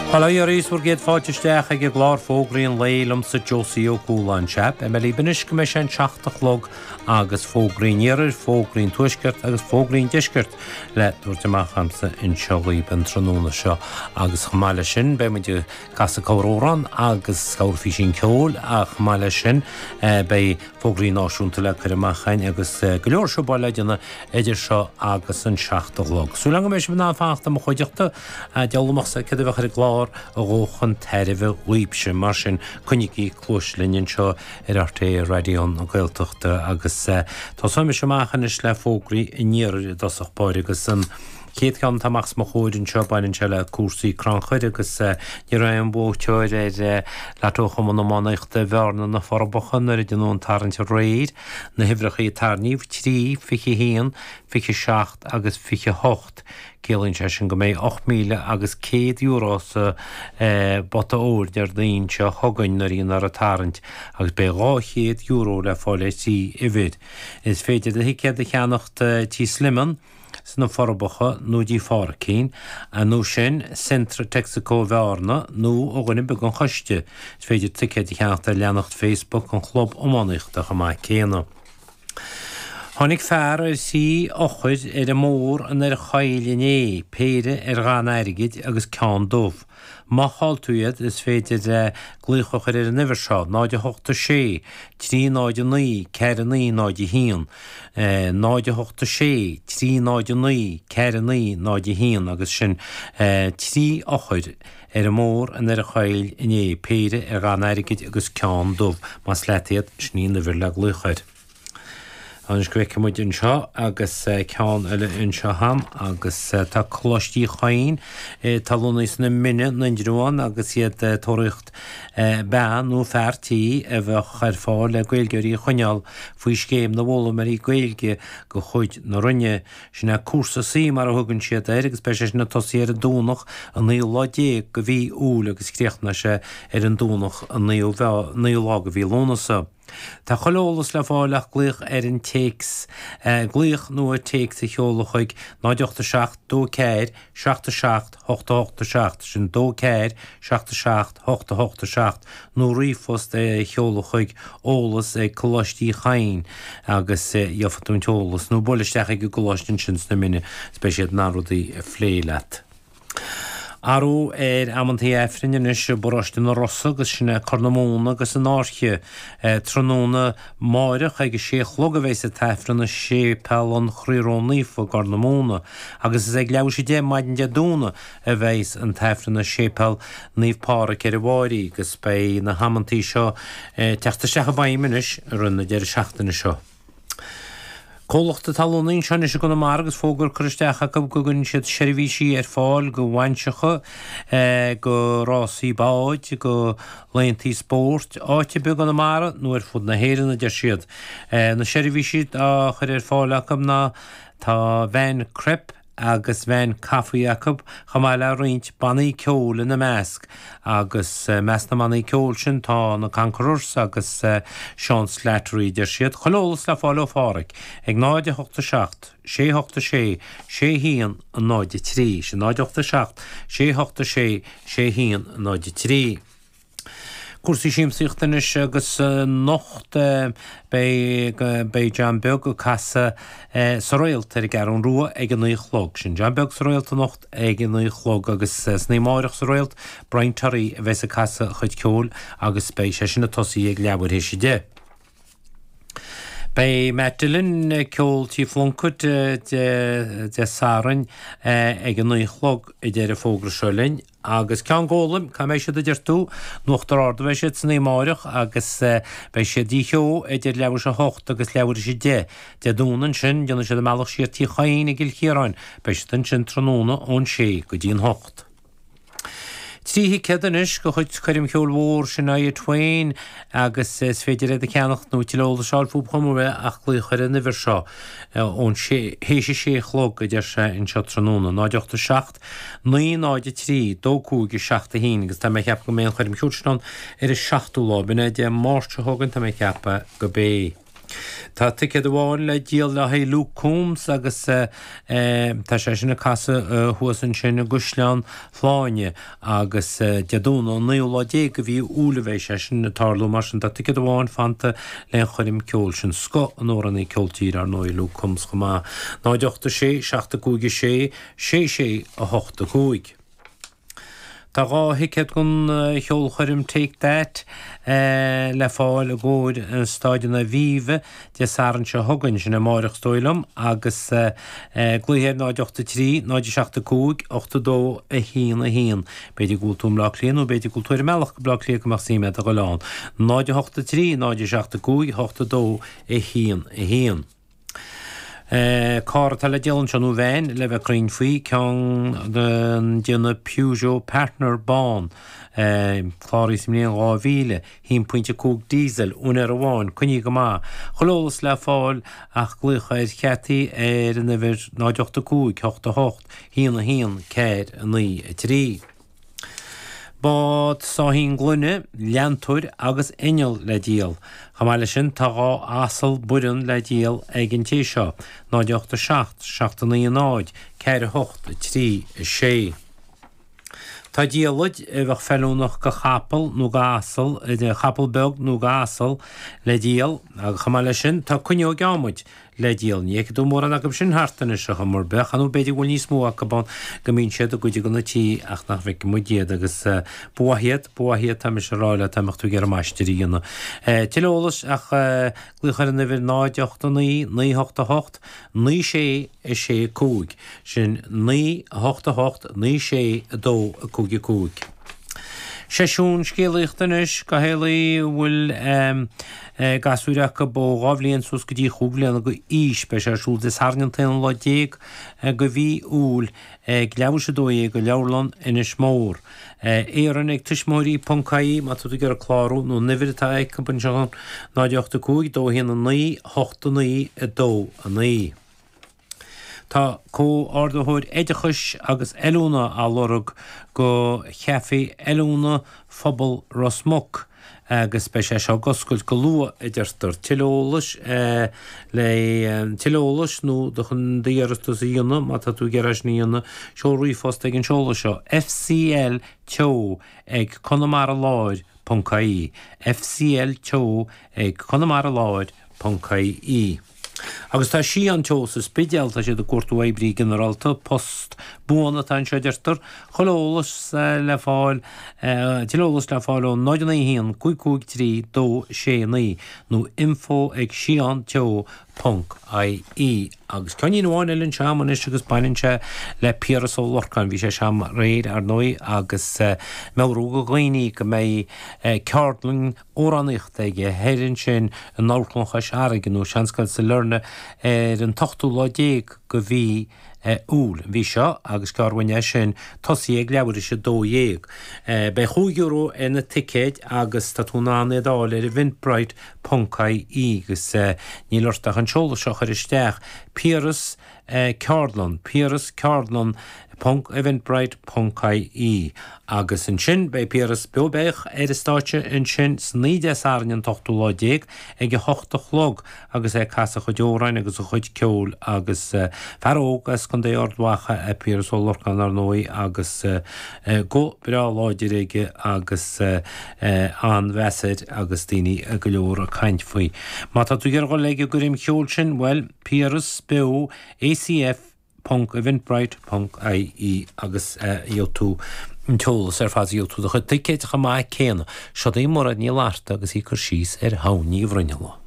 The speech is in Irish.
Bail ó Dhia oraibh is bhur gcéad fáilte isteach ag an gclár Fógraí an Lae liomsa Josie Ó Cualáin. Sea, beidh mé libh anois go mbeidh sé an 7 a chlog agus Fógraí an Iarthair, Fógraí an Tuaiscirt agus Fógraí an Deiscirt le tabhairt amach a'msa anseo dhaoibh an tráthnóna seo agus chomh maith leis sin beidh muid ag casadh corr-amhrán agus corrphísín ceoil ach chomh maith leis sin beidh Fógraí náisiúnta le cur amach againn agus go leor siobáil le déanamh idir seo agus an 7 a chlog. Súil agam go mbeidh sibh in ann fanacht i mo chuideachta. Diabhal amusa céard a bheadh ar an gclár a dhul chun tairbhe dhaoibhse. Mar sin, coinnígí cluais linn anseo ar RTÉ Raidió na Gaeltachta agus tosóidh mise amach anois le fógraí an iarthair i dtosach báire agus an chéad cheann atá amach os mo chomhair anseo, baineann sé le cúrsaí crannchuir agus ní raibh aon bhuaiteoir ar Lotto Chumann Iománaíochta Bhearna na Forbacha nuair a deineadh an tarraingt aréir. Na huimhreacha a tarraingíodh, 3, 21, 27 agus 28. Ciallaíonn sé sin go mbeidh €8,000 agus €100 sa bpota óir Déardaoin seo chugainn nuair a dhéanfar an tarraingt agus beidh €200 le fáil ar thrí uimhir. Is féidir do thicéad a cheannacht Tí Sliman, sna Forbacha nó dtí Phádraicín, nó sin Centra Texaco Bhearna nó ó dhuine ar bith den choiste. Is féidir ticéid a cheannacht ar leathanach Facebook an Chlub Iománaíochta chomh maith céanna. Tháinig fear ar thrí eochair ar an mbóthar in Earra Choill inné, péire ar dhath an airgid agus ceann dubh. Má chaill tú iad, is féidir glaoch a chur ar an uimhir seo, 0 8 6 3 0 9 4 9 0 1, 0 8 6 3 0 9 4 9 0 1, agus sin 3 eochair ar an mbóthar in Doire Choill inné, péire ar dhath an airgid agus ceann dubh. Más leat iad, sin í an uimhir le glaoch air. Anois go bhfeicfidh muid anseo agus ceann eile anseo a'm agus tá Coláiste Uí Chadhain atá lonnaithe sna Mine in Indreabhán agus iad ag tóraíocht bean nó fear tí a bheadh ar fáil le Gaeilgeoirí a choinneáil faoi scéim na bhfoghlaimeoirí Gaeilge de chuid na Roinne. Sin é cúrsa C mar a thugann siad air agus beidh sé sin ag tosaí ar an Domhnach an naoú lá déag de mhí Iúil agus críochnóidh sé ar an Domhnach an naoú lá de mhí Lúnasa. Tá chuile eolas le fáil ach glaoch ar an téacs, glaoch nó téacs a sheoladh chuig 0 8 7 2 4 7 7 8 8 7, sin 2 4 7 7 8 8 7, nó ríomhphost a sheoladh chuig eolas ag Coláiste Uí Chadhain agus gheobhaidh tú an t-eolas, nó buail isteach ag an gcoláiste ansin sna Mine is beidh siad in ann rudaí a phlé leat. Athrú ar amantaí Aifrinn anois i bparóiste na Rosa agus sin é Corr na Móna agus an Fhairche. Tráthnóna amáireach ag a sé a chlog a bheas an tAifreann i Séipéal an Chroí Ró-Naofa i gCorr na Móna agus is ag leathuair tar éis 10 maidin Dé Domhnaigh a bheas an tAifreann i Séipéal Naomh Pádraig ar an bhFáirí agus beidh na hamantaí seo ag teacht isteach i bhfeidhm anois i rith na deireadh seachtaine seo. Comhlacht atá lonnaithe anseo anois i gConamara agus fógra curtha isteach acu go gcuireann siad seirbhísí ar fáil go bhainseacha, go rásaí báid, go laethantaí spóirt, áit ar bith i gConamara nó ar fud na hÉireann, a deir siad. Na seirbhísí á chur ar fáil acu ná tá veain crepe, agus veain caife acu, chomh maith le roinnt bannaí ceoil ina measc, agus i measc na mbannaí ceoil sin tá na Conquerors agus Seán Slattery, a deir siad. Chuile eolas le fáil ó Pháraic ag 0 8 7 6 8 6 6 1 0 3, sin 0 8 7 6 8 6 6 1 0 3. Cúrsaí siamsaíochta anois agus anocht beidh beidh John Beag ag casadh sa Réalt ar an gCeathrú Rua ag a 9 a chlog. Sin John Beag sa Réalt anocht ag a 9 a chlog agus san oíche amáireach sa Réalt Brian Terry a bheas ag casadh a chuid ceoil agus beidh sé sin ag tosaí ag leathuair théis a 10. Beidh Matt Dillon ag ceol Tí Phlunkett Dé Sathairn ag a 9 a chlog a deir an fógra seo linn. Agus ceann Gólaim, cá mbeidh siad a deir tú? In Uachtar Ard a bheidh siad san oíche amáireach agus beidh siad Dí Cheo idir leathuair théis a hocht agus leathuair théis a deich. Dé Domhnaigh ansin, déanfaidh siad a mbealach siar Tí Chadhain i gCill Chiaráin. Beidh siad ansin tráthnóna ón sé go dtí an hocht. 3 thicéad anois de chuid coirm cheoil mhór Shania Twain agus is féidir iad a cheannacht nó tuilleadh eolais a fháil fúthu chomh maith ach glaoch ar an uimhir seo ón sé, théis a sé a chlog a deir sé anseo tráthnóna, 0 8 7 9 0 3 2 5 7 1 agus tá mé ag ceapadh go mbeidh an choirm cheoil sin ann ar an seachtú lá, b'in é Dé Máirt seo chugainn, tá mé ag ceapadh go mbeidh. Tá ticéad amháin le díol le haghaidh Luke Combs agus tá sé sin ag casadh thuas ansin i gCaisleán Shláine agus Dé Domhnaigh an naoú lá déag de mhí Iúil a bheidh sé sin ag tarlú. Mar sin tá ticéad amháin fanta lén choirm ceoil sin. Scoth an amhránaí ceol tíre ar ndóigh Luke Combs chomh maith. 0 8 6 7 5 6 6 6 8 5. Tá 2 thicéad don cheolchoirm Take That le fáil i gcomhair Staid an Aviva Dé Sathairn seo chugainn, sin amáireach is dóigh liom, agus glaoigh ar 0 8 3 0 7 5 8 2 1 1. B'fhéidir go bhfuil tú i mBleá Cliath nó b'fhéidir go bhfuil tú ar an mbealach go Bleá Cliath go mbeadh suim agat a dhul ann. 0 8 3 0 7 5 8 2 1 1. Carr atá le díol anseo, nó veain le bheith cruinn faoi, ceann den déanamh Peugeot Partner bán, cláraithe sa mbliain 2000, 1.5 diesel, úinéir amháin, coinnithe go maith. Chuile eolas le fáil ach glaoch ar Chathy ar an uimhir 0 8 5 8 8 1 1 4 9 3. Bád sáithín gloine, leantóir agus inneall le díol. Chomh maith leis sin tá 2 asal Boireann le díol ag an té seo, 0 8 7 7 9 0 4 8 3 6. Tá diallait a bheadh feiliúnach go chapall nó go asal, chapall beag nó go asal, le díol agus chomh maith leis sin tá cuinneog adhmaid le díol. Ní fheicfidh tú mórán acu sin thart anois ar chuma ar bith, nó b'fhéidir go bhfuil níos mó acu ann go mbíonn siad i gcuid de na tithe ach nach bhfeiceann muid iad agus ba mhaith iad, ba mhaith iad tá mise a rá leat dá mbeadh tú ag iarraidh maistir a dhéanamh. Tuilleadh eolais ach glaoch ar an uimhir 0 8 9 9 8 8 9 6 6 5, sin 9 8 8 9 6 2 5 5. Seisiún scéalaíochta anois do theaghlaigh a bhfuil gasúir acu ó 2 bhliain suas go dtí chúig bhliana d'aois. Beidh sé ar siúl Dé Sathairn an t-aonú lá déag de mhí Iúil ag leathuair tar éis 12 i Leabharlann Inis Mór. Éireann ag tuismitheoirí ponc ie má tá tú ag iarraidh clárú nó an uimhir atá acu anseo 0 8 5 2 1 9 8 9 2 9. Tá Comhordaitheoir Oideachais agus Oiliúna á lorg go Chaifé Oiliúna Phobal Ros Muc agus beidh sé seo ag oscailt go luath, a deirtear. Tuilleadh eolais le tuilleadh eolais nó chun d'iarratas a dhéanamh, má tá tú ag iarraidh sin a dhéanamh, seol ríomhphost ag an seoladh seo, fcl teo ag conamaralár ponc ie, fcl teo ag conamaralár ponc ie. Agus tá Síon Teo sa Spidéal, tá siad ag cuartú oibrí ginearálta, post buan atá anseo a deirtear. Chuile eolas le fáil, tuilleadh eolais le fáil ó 0 9 1 5 5 3 2 6 9 nó info ag sionteo ponc ie. Agus ceainnín amháin eile anseo agam anois agus baineann sé le Piaras Ó Lorcáin. Bhí sé anseo agam aréir ar ndóigh agus meabhrú do dhaoine go mbeidh ceardlann amhránaíochta aige thoir ansin in Amharclann Chois Fharraige nó Seanscoil Sailearna ar an t-ochtú lá déag de mhí Iúil, an mhí seo, agus gearr uainn é sin, tosaithe ag leathuair théis a 12. Beidh €5 ar na ticéid agus tá tú in ann iad a fháil ar eventbrite ponc ie agus níl ort ach an seoladh seo a chur isteach, Piaras Ceardlann, Piaras Ceardlann ponc eventbrite ponc ie Agus ansin beidh Piaras beo beach ar an stáitse ansin san oíche Dé Sathairn an t-ochtú lá déag ag a hocht a chlog agus é ag casadh a chuid amhráin agus a chuid ceoil agus fear óg as Contae Ard Mhacha é Piaras Ó Lorcáin ar ndóigh agus guth breá láidir aige agus an-mheas air agus daoine go leor ag caint faoi. Má tá tú ag iarraidh dhul ag an gcoirm cheoil sin, bhuel, Piaras Beo ACF ponc eventbrite ponc ie agus gheobhaidh tú an t-eolas ar fad, gheobhaidh tú do chuid ticéid chomh maith céanna. Seo í Mairéad Ní Fhlatharta agus í ag cur síos ar Shamhain Ní Bhruinnealla.